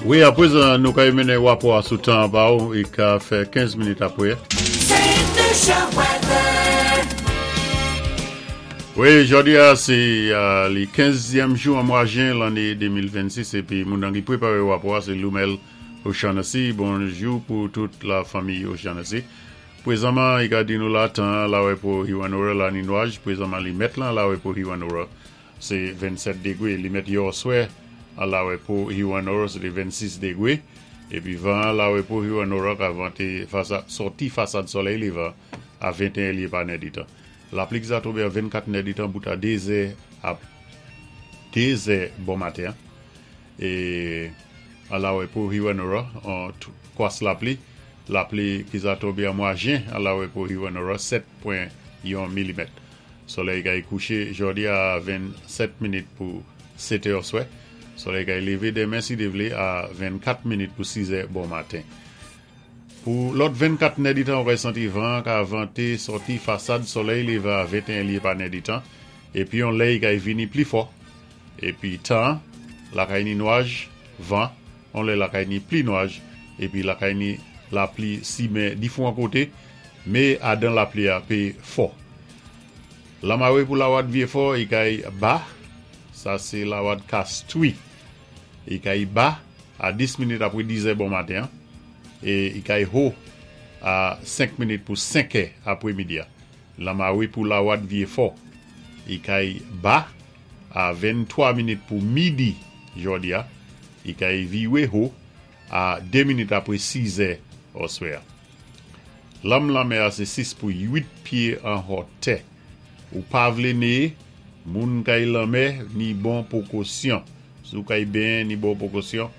Wi, apwézan nou kay mennen wapò a sou tan an ba ou, i ka fè 15 minit apwé. Saint Lucia weather. Wi, jòdi a sé li 15 zièm jou an mwa jen lanné 2026 épi moun nan ki pwéparé wapò a sé Lumel O'Shaughnessy. Bonjou pou tout la fanmi O'Shaughnessy. Pwézanman i ka di nou la tan an lawè pou Hewanorra la ni nwaj, pwézanman li mèt lan lawè pou Hewanorra sé 27 degwé, li mèt yèoswè an lawè pou Hewanorra sé té 26 degwé, épi van an lawè pou Hewanorra ka vanté fasa sòti fasad solèy lévan a 21 lyé pa nèditan. Lapli ki sa tonbé an 24 nèditan bout a 2 zè ap 2 zè bon maten an. E an lawè pou Hewanorra an kwas lapli, lapli ki za tonbe an mwa jen an lawè pou Hewanorra 7.1 milimèt. Solèy kay kouche jòdi a 27 minit pou 7 è oswè. Solèy kay leve demen si Dye vle a 24 minit pou 6 è bon maten. Pou lòt 24 nèditan ou kay santi van an ka vante sòti fasad solèy levan a 21 lye pa nèditan epi yon lè i kay vini pli fò epi tan an lakay ni nwaj, van, on lè lakay ni pli nwaj epi lakay ni lapli simen difwan kote me adan lapli a pe fò. Lanmare pou lawad Vyefò i kay ba, sa se lawad Kastwi. I kay ba a 10 minit apre dizè bon maten an e i kay ho a 5 minit pou 5 è apre midi a. Lanmare pou Lawad Vyefò. I kay ba a 23 minit pou midi jòdi a. I kay viwe ho a 2 minit apre 6 è oswè a. Lanm lanmè a se 6 pou 8 pye an hòtè. Ou pa vlé néyé, moun kay lanmè ni bon pwokosyon. Si w kay benyen ni bon pwokosyon,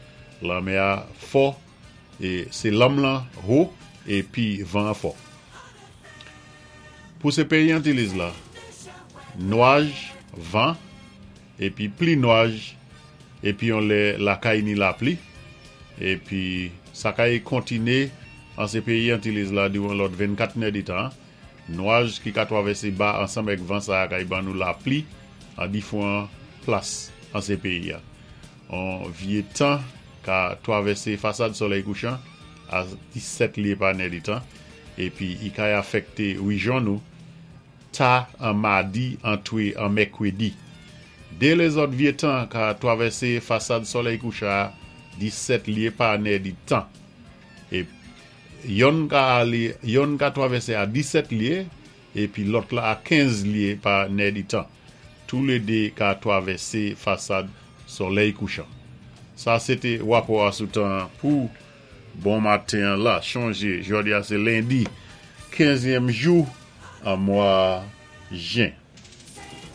lanmè a fò e se lanm lan ho e pi van an fò. Pou se peyi Antiliz la, nwaj, van, epi pli nwaj, epi yon lè lakay ni lapli, epi sa kay kontine an se peyi Antiliz la diran lòt 24 nèditan an. Nwaj ki ka twavèse ba ansanm èk van sa a kay ban nou lapli an difwan plas an se peyi a. On vye tan ka twavèse fasad solèy kouchan a 17 lye pa nèditan epi i kay afèkte rijyon nou ta an madi antwe an mèkredi. De lezòt vye tan ka twavèse fasad solèy kouchan a 17 lye pa nèditan e Yonn ka ale, yonn ka twavèse a 17 lye, epi lòt la a 15 lye pa nèditan. Toulede ka twavèse fasad solèy kouchan. Sa se te rapò a sou tan an pou bon maten an la. Chonje, jodi a se lendi, kenzyèm jou an mwa jen.